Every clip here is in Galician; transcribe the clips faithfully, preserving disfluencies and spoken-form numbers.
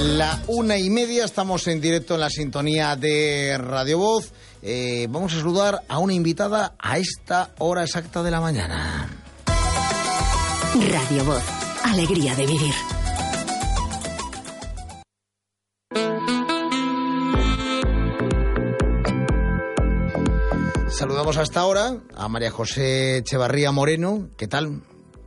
La una y media, estamos en directo en la sintonía de Radio Voz. Eh, vamos a saludar a una invitada a esta hora exacta de la mañana. Radio Voz, alegría de vivir. Saludamos hasta ahora a María José Echevarría Moreno. ¿Qué tal?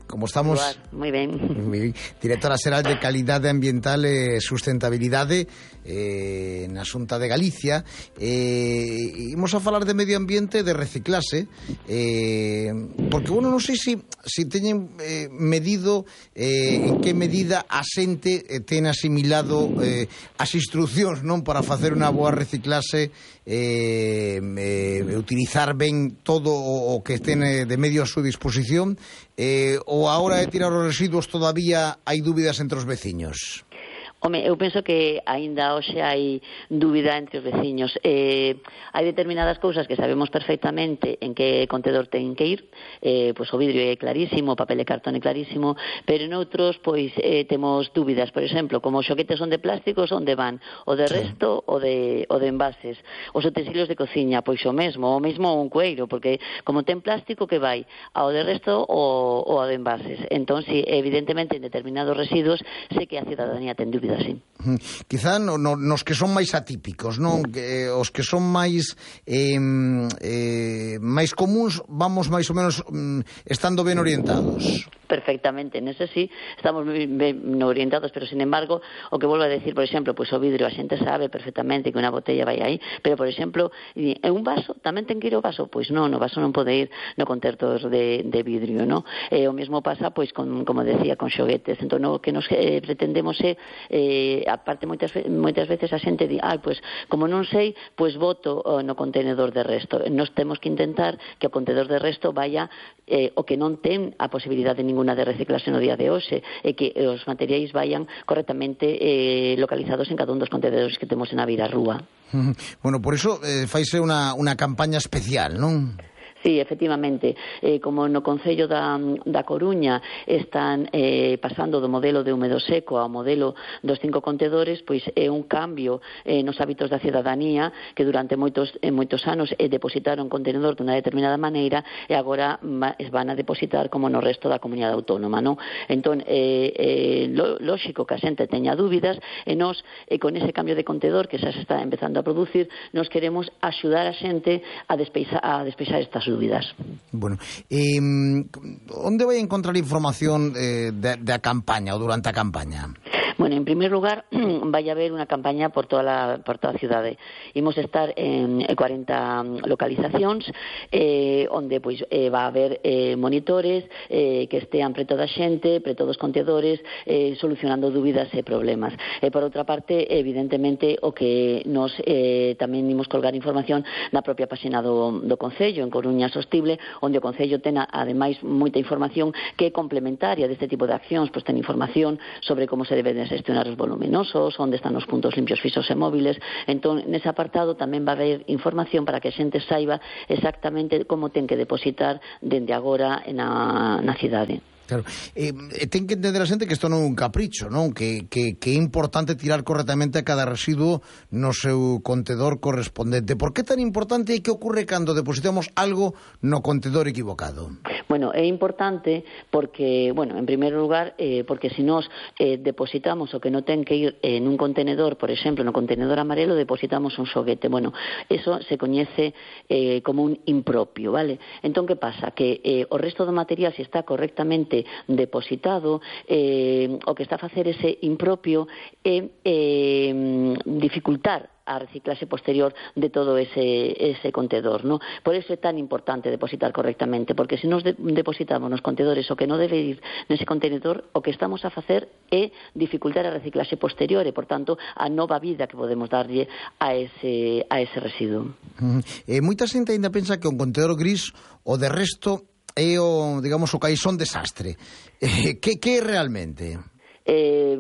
¿Cómo estamos? Muy bien. Muy bien. Directora Xeral de Calidade Ambiental e Sustentabilidade eh, na Xunta de Galicia. Eh, imos a falar de medio ambiente, de reciclase, eh, porque, bueno, non sei se si, si teñen eh, medido eh, en que medida a xente eh, ten asimilado eh, as instruccións, non, para facer unha boa reciclase, eh, eh, utilizar ben todo o, o que ten de medio a súa disposición, eh, ou a hora de tirar os residuos todavía hai dúbidas entre os veciños? Home, eu penso que aínda hoxe hai dúbida entre os veciños. Eh, hai determinadas cousas que sabemos perfectamente en que contedor ten que ir, eh, pois o vidrio é clarísimo, o papel de cartón é clarísimo, pero noutros pois eh, temos dúbidas. Por exemplo, como os xoguetes son de plásticos, onde van? O de resto ou de, o de envases? Os utensilios de cociña, pois o mesmo, o mesmo un cueiro, porque como ten plástico, que vai? Ao de resto ou, ou ao de envases? Entón, si, evidentemente, en determinados residuos, sei que a cidadanía ten dúbidas. Sí. Quizá no, no, nos que son máis atípicos, non? Que, os que son máis eh, eh, máis comuns, vamos máis ou menos mm, estando ben orientados. Perfectamente, nese sí estamos ben orientados, pero sin embargo, o que volvo a decir, por exemplo, pois o vidrio, a xente sabe perfectamente que unha botella vai aí, pero, por exemplo, en un vaso, tamén ten que ir o vaso? Pois non, o vaso non pode ir no contentor de, de vidrio, non? E o mesmo pasa, pois, con, como decía, con xoguetes. Entón, o que nos eh, pretendemos é, eh, aparte, moitas, moitas veces a xente di, ah, pois, como non sei, pois voto oh, no contenedor de resto. Nos temos que intentar que o contenedor de resto vaya eh, o que non ten a posibilidade ninguna de reciclarse no día de hoxe, e que os materiais vayan correctamente eh, localizados en cada un dos contenedores que temos na beira rúa. Bueno, por iso eh, faise unha, unha campaña especial, non? Sí, efectivamente, eh, como no Concello da, da Coruña están eh, pasando do modelo de húmedo seco ao modelo dos cinco contedores, pois é un cambio eh, nos hábitos da cidadanía, que durante moitos, eh, moitos anos eh, depositaron contenedor dunha determinada maneira e agora van a depositar como no resto da comunidade autónoma, non? Entón, eh, eh, lo, lóxico que a xente teña dúbidas, e nos, eh, con ese cambio de contedor que xa se está empezando a producir, nos queremos axudar a xente a despeixar, a despeixar estas dúbidas. dúbidas. Bueno, eh, onde vai encontrar información eh, da campaña ou durante a campaña? Bueno, en primer lugar, vai haber unha campaña por toda a, por toda a cidade. Imos estar en cuarenta localizacións, eh, onde pois eh, va a haber eh, monitores eh, que estean preto da xente, preto dos contedores, eh, solucionando dúbidas e problemas. E por outra parte, evidentemente, o que nos eh, tamén imos colgar información na propia páxina do, do Concello, en Coruña Sostible, onde o Concello ten, ademais, moita información que é complementaria deste tipo de accións, pois ten información sobre como se debe de gestionar os voluminosos, onde están os puntos limpios fixos e móviles. Entón, nese apartado tamén va a haber información para que a xente saiba exactamente como ten que depositar dende agora na, na cidade. Claro, eh, ten que entender a xente que isto non é un capricho, non? Que, que, que é importante tirar correctamente cada residuo no seu contedor correspondente. Por que tan importante e que ocorre cando depositamos algo no contedor equivocado? Bueno, é importante porque, bueno, en primeiro lugar, eh, porque se nós eh, depositamos o que non ten que ir en un contenedor, por exemplo, no contenedor amarelo, depositamos un xoguete. Bueno, eso se coñece eh, como un impropio, vale? Entón, que pasa? Que eh, o resto do material, se está correctamente depositado, eh, o que está a facer ese impropio é eh, dificultar a reciclaxe posterior de todo ese, ese contedor, ¿no? Por eso é tan importante depositar correctamente, porque se nos de, depositamos nos contedores o que non debe ir nese contenedor, o que estamos a facer é dificultar a reciclaxe posterior e, por tanto, a nova vida que podemos darlle a ese, a ese residuo. Uh-huh. Eh, moita xente ainda pensa que un contenedor gris o de resto é o, digamos, o caixón desastre. Eh, que, que é realmente? Eh,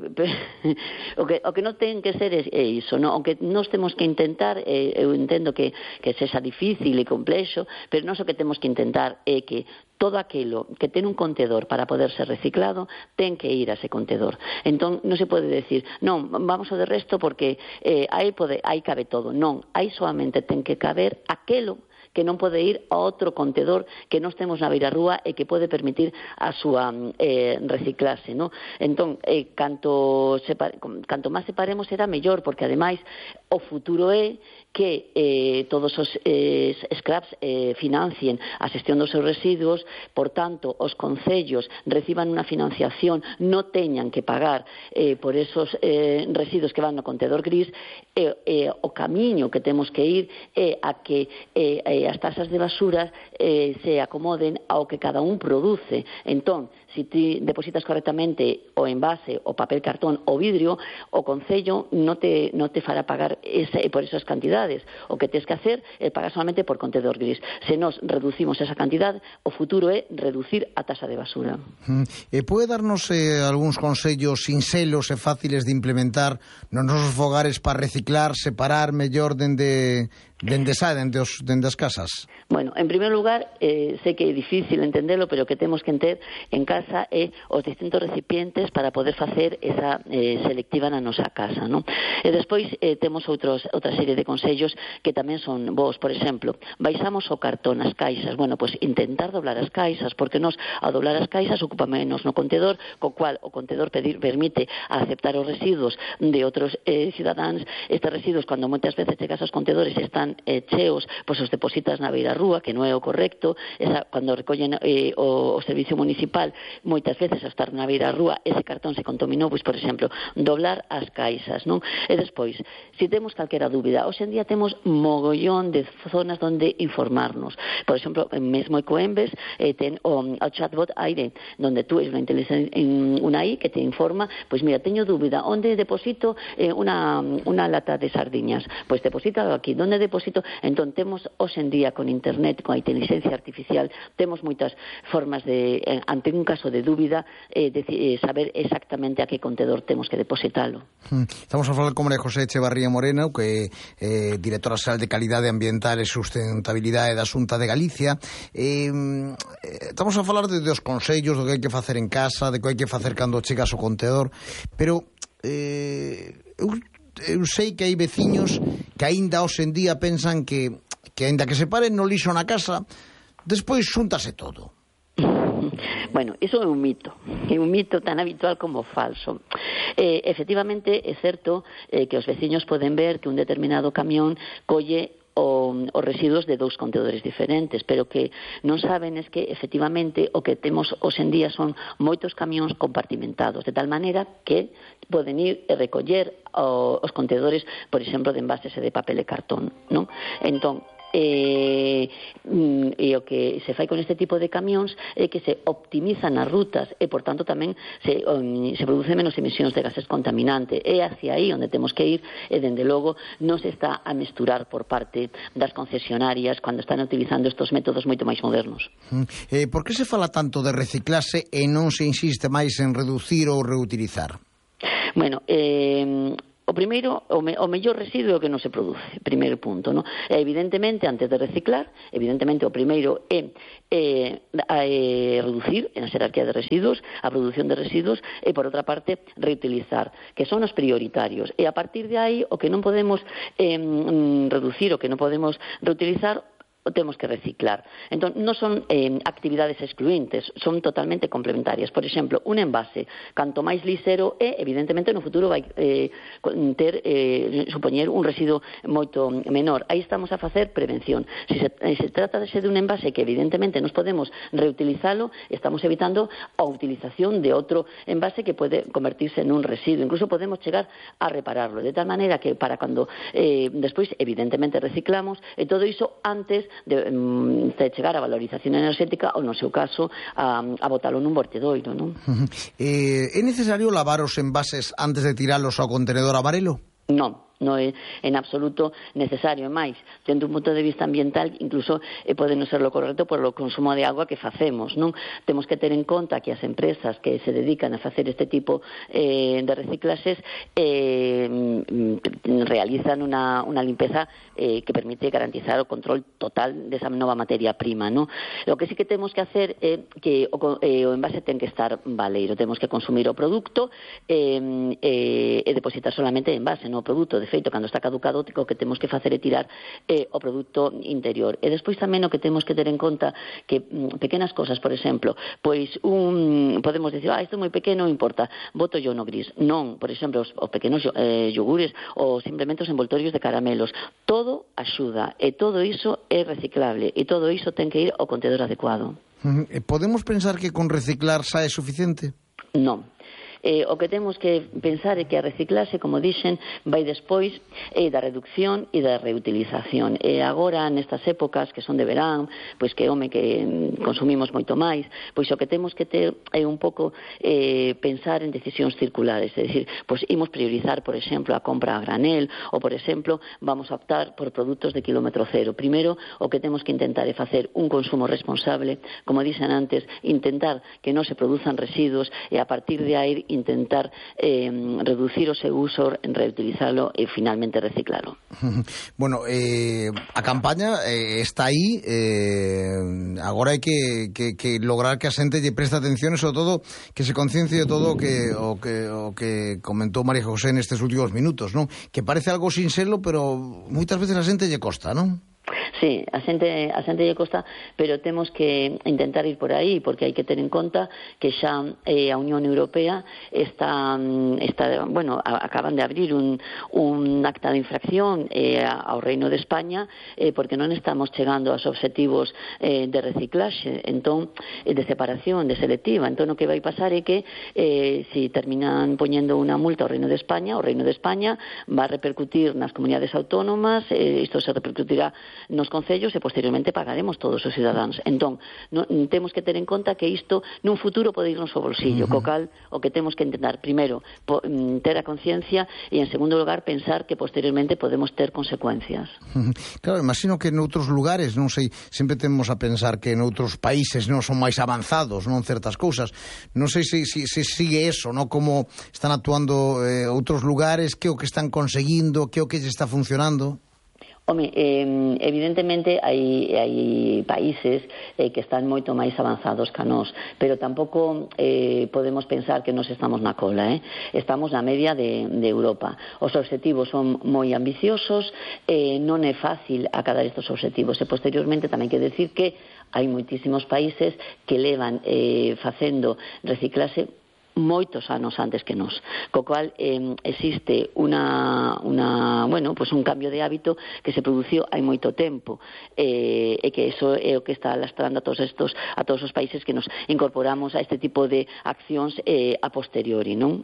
o que o que non ten que ser é, é iso, non? O que nós temos que intentar, eh, eu entendo que, que sexa difícil e complexo, pero nós o que temos que intentar é que todo aquilo que ten un contedor para poder ser reciclado ten que ir a ese contedor. Entón, non se pode decir, non, vamos ao de resto porque eh, aí, pode, aí cabe todo. Non, aí solamente ten que caber aquelo que non pode ir a outro contedor que nós temos na beirarrúa e que pode permitir a súa eh, reciclase, non? Entón, eh, canto, separe, canto máis separemos será mellor, porque ademais o futuro é que eh, todos os eh, scraps eh, financien a xestión dos seus residuos, por tanto, os concellos reciban unha financiación, non teñan que pagar eh, por esos eh, residuos que van no contedor gris, e eh, eh, o camiño que temos que ir é a que eh, eh, as tasas de basura eh, se acomoden ao que cada un produce. Entón, se ti depositas correctamente o envase, o papel cartón, o vidrio, o concello non te, non te fará pagar ese, por esas cantidades. O que tens que hacer é pagar solamente por contedor gris. Se nos reducimos esa cantidad, o futuro é reducir a tasa de basura. Mm. E pode darnos eh, algúns consellos sinxelos e fáciles de implementar nos nosos fogares para reciclar, separar mellor dende... Dende xa, dende, os, dende as casas? Bueno, en primer lugar, eh, sei que é difícil entendelo, pero o que temos que ter en casa é os distintos recipientes para poder facer esa eh, selectiva na nosa casa, non? E despois eh, temos outros, outra serie de consellos que tamén son vos. Por exemplo, baixamos o cartón, as caixas. Bueno, pois pues, intentar doblar as caixas, porque nos, ao doblar as caixas, ocupa menos no contedor, co cual o contedor pedir, permite aceptar os residuos de outros eh, cidadáns. Estes residuos, cando moitas veces chegas aos contedores, están Eh, cheos, pois os depositas na beirarrúa, que non é o correcto. Esa, cando recollen eh, o, o servicio municipal, moitas veces ao estar na beirarrúa, ese cartón se contaminou, pois, por exemplo, doblar as caixas, non? E despois, se temos calquera dúbida, hoxe en día temos mogollón de zonas onde informarnos. Por exemplo, mesmo en Coembes eh, ten o, o chatbot Aire, donde tú es unha inteligencia, unha I que te informa, pois mira, teño dúbida, onde deposito eh, unha, unha lata de sardiñas? Pois deposítalo aquí. Donde deposito? Entón, temos hoxe en día con internet, con a inteligencia artificial, temos moitas formas de, ante un caso de dúbida, eh, de, eh, saber exactamente a que contedor temos que depositalo. Estamos a falar con María José Echevarría Morena, que é eh, directora xeral de Calidade Ambiental e Sustentabilidade da Xunta de Galicia. Eh, estamos a falar de, de os consellos, do que hai que facer en casa, de que hai que facer cando chegas ao contedor, pero eh, eu eu sei que hai veciños que aínda hoxe en día pensan que, que aínda que se paren no lixo na casa, despois xúntase todo. Bueno, iso é un mito, é un mito tan habitual como falso. Eh, efectivamente, é certo eh, que os veciños poden ver que un determinado camión colle O, os residuos de dous contedores diferentes, pero que non saben es que efectivamente o que temos hoxe en día son moitos camións compartimentados, de tal maneira que poden ir e recoller o, os contedores, por exemplo, de envases e de papel e cartón, non? Entón, E, e o que se fai con este tipo de camións é que se optimizan as rutas e, por tanto, tamén se, um, se produce menos emisións de gases contaminantes. É hacia aí onde temos que ir e, dende logo, non se está a mesturar por parte das concesionarias cando están utilizando estes métodos moito máis modernos. Eh, por que se fala tanto de reciclase e non se insiste máis en reducir ou reutilizar? Bueno, eh... O primeiro, o, me, o mellor residuo que non se produce, primeiro punto, non? E evidentemente, antes de reciclar, evidentemente o primeiro é, é, é reducir en a xerarquía de residuos, a produción de residuos, e por outra parte, reutilizar, que son os prioritarios. E a partir de aí, o que non podemos eh, reducir, o que non podemos reutilizar, o temos que reciclar. Entón, non son eh, actividades excluintes, son totalmente complementarias. Por exemplo, un envase, canto máis lisero é, evidentemente, no futuro vai eh, ter, eh, supoñer un residuo moito menor. Aí estamos a facer prevención. Se se, eh, se trata de ser un envase que, evidentemente, nos podemos reutilizalo, estamos evitando a utilización de outro envase que pode convertirse en un residuo. Incluso podemos chegar a repararlo, de tal maneira que para cando eh, despois, evidentemente, reciclamos, e todo iso antes De, de chegar a valorización enerxética ou, no seu caso, a, a botalo nun vertedoiro, non? Eh, é necesario lavar os envases antes de tiralos ao contenedor amarelo? Non. non é en absoluto necesario. E máis, dentro un punto de vista ambiental, incluso eh, pode non ser lo correcto por o consumo de agua que facemos, non? Temos que ter en conta que as empresas que se dedican a facer este tipo eh, de reciclaxes eh, realizan unha, unha limpeza eh, que permite garantizar o control total desa nova materia prima, non? Lo que sí que temos que hacer é eh, que o, eh, o envase ten que estar baleiro, temos que consumir o produto eh, eh, e depositar solamente en envase, non o produto. De feito, cando está caducado, o que temos que facer é tirar eh, o produto interior. E despois tamén o que temos que ter en conta que mm, pequenas cosas, por exemplo, pois un, podemos dicir, ah, isto é moi pequeno, non importa, boto yo no gris. Non, por exemplo, os, os pequenos eh, yogures ou simplemente os envoltorios de caramelos. Todo axuda e todo iso é reciclable e todo iso ten que ir ao contedor adecuado. Podemos pensar que con reciclar xa é suficiente? Non. Eh, o que temos que pensar é que a reciclaxe, como dixen, vai despois eh, da reducción e da reutilización. E agora, nestas épocas que son de verán, pois que, home, que consumimos moito máis, pois o que temos que ter é un pouco eh, pensar en decisións circulares, é dicir, pois imos priorizar, por exemplo, a compra a granel, ou, por exemplo, vamos a optar por produtos de kilómetro cero. Primeiro, o que temos que intentar é facer un consumo responsable, como dixen antes, intentar que non se produzan residuos e a partir de aí intentar eh, reducir o seu uso, reutilizalo e finalmente reciclalo. Bueno, eh, a campaña eh, está aí, eh, agora hai que, que, que lograr que a xente lle preste atención e sobre todo que se conciencie de todo o que, o que, o que comentou María José nestes últimos minutos, non? Que parece algo sinxelo, pero moitas veces a xente lle costa, non? Sí, a xente, a xente lle costa, pero temos que intentar ir por aí, porque hai que ter en conta que xa eh, a Unión Europea está, está bueno, a, acaban de abrir un, un acta de infracción eh, ao Reino de España, eh, porque non estamos chegando aos obxectivos eh, de reciclaxe, entón, eh, de separación, de selectiva. Entón, o que vai pasar é que eh, si terminan poñendo unha multa ao Reino de España, o Reino de España va a repercutir nas comunidades autónomas, eh, isto se repercutirá nos concellos e posteriormente pagaremos todos os cidadáns. Entón, no, temos que ter en conta que isto nun futuro pode irnos ao bolsillo, uh-huh. co cal o que temos que intentar primeiro po, ter a conciencia e en segundo lugar pensar que posteriormente podemos ter consecuencias. Uh-huh. Claro, imagino que noutros lugares, non sei, sempre temos a pensar que noutros países non son máis avanzados, non certas cousas. Non sei se, se, se sigue eso, non? Como están actuando eh, outros lugares, que o que están conseguindo, que o que lle está funcionando. Home, eh, evidentemente hai, hai países eh, que están moito máis avanzados que nós, pero tampouco eh, podemos pensar que nos estamos na cola, eh? Estamos na media de, de Europa. Os obxectivos son moi ambiciosos, eh, non é fácil acadar estes obxectivos e posteriormente tamén hai que decir que hai moitísimos países que levan eh, facendo reciclaxe moitos anos antes que nós, co cual eh, existe una, una, bueno, pues un cambio de hábito que se produciu hai moito tempo eh, e que eso é o que está lastrando a todos estos, a todos os países que nos incorporamos a este tipo de accións eh, a posteriori, non?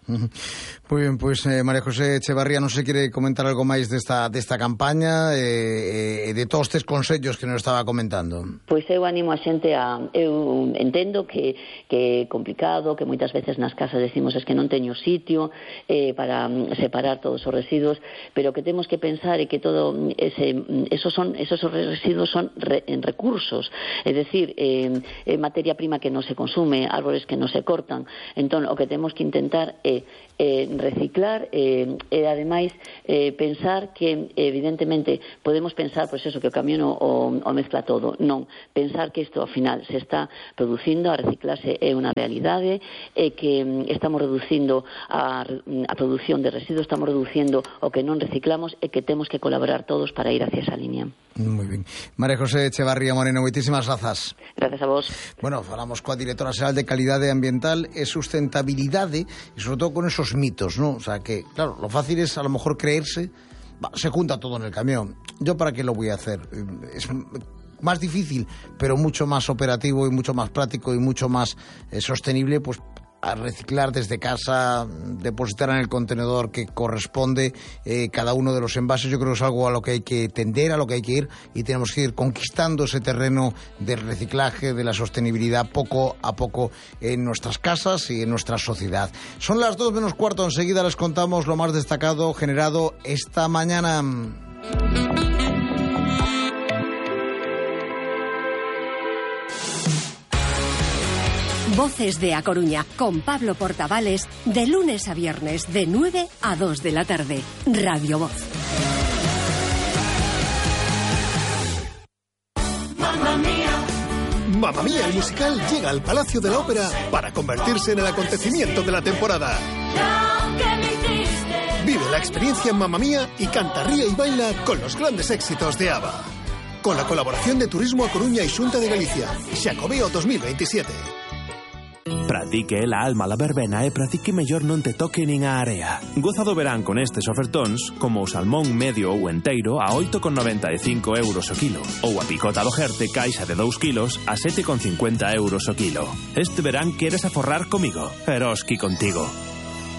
Moi ben, pois eh, María José Echevarría, non se quere comentar algo máis desta, desta campaña e eh, de todos estes consellos que nos estaba comentando. Pois eu animo a xente a... Eu entendo que, que é complicado, que moitas veces nas casas decimos es que non teño sitio eh, para separar todos os residuos, pero que temos que pensar é que todo ese, esos, son, esos residuos son re, en recursos, é dicir, eh, eh, materia prima que non se consume, árboles que non se cortan. Entón, o que temos que intentar é Eh, reciclar eh, e ademais eh, pensar que evidentemente podemos pensar pois eso, que o camión o, o mezcla todo, non, pensar que isto ao final se está producindo, a reciclarse é unha realidade e que mm, estamos reducindo a, a produción de residuos, estamos reducindo o que non reciclamos e que temos que colaborar todos para ir hacia esa línea. Moi ben. María José Echevarría Moreno, moitísimas grazas. Gracias a vos. Bueno, falamos coa directora xeral de Calidade Ambiental e Sustentabilidade e sobre todo con esos mitos, ¿no? O sea que, claro, lo fácil es a lo mejor creerse, bah, se junta todo en el camión. ¿Yo para qué lo voy a hacer? Es más difícil, pero mucho más operativo y mucho más práctico y mucho más eh, sostenible, pues a reciclar desde casa, depositar en el contenedor que corresponde eh, cada uno de los envases. Yo creo que es algo a lo que hay que tender, a lo que hay que ir, y tenemos que ir conquistando ese terreno del reciclaje, de la sostenibilidad, poco a poco en nuestras casas y en nuestra sociedad. Son las dos menos cuarto, enseguida les contamos lo más destacado generado esta mañana. Voces de A Coruña, con Pablo Portavales, de lunes a viernes, de nueve a dos de la tarde. Radio Voz. Mamma Mía. Mamma Mía, el musical llega al Palacio de la Ópera para convertirse en el acontecimiento de la temporada. Vive la experiencia en Mamma Mía y canta, ríe y baila con los grandes éxitos de ABBA. Con la colaboración de Turismo A Coruña y Xunta de Galicia. Xacobeo dos mil veintisiete. Pratique la alma la verbena e pratique mellor non te toque nin a area. Goza do verán con estes ofertóns, como o salmón medio ou enteiro a oito con noventa e cinco euros o kilo, ou a picota do Jerte caixa de dous kilos a sete con cincuenta euros o kilo. Este verán queres aforrar comigo, Eroski contigo.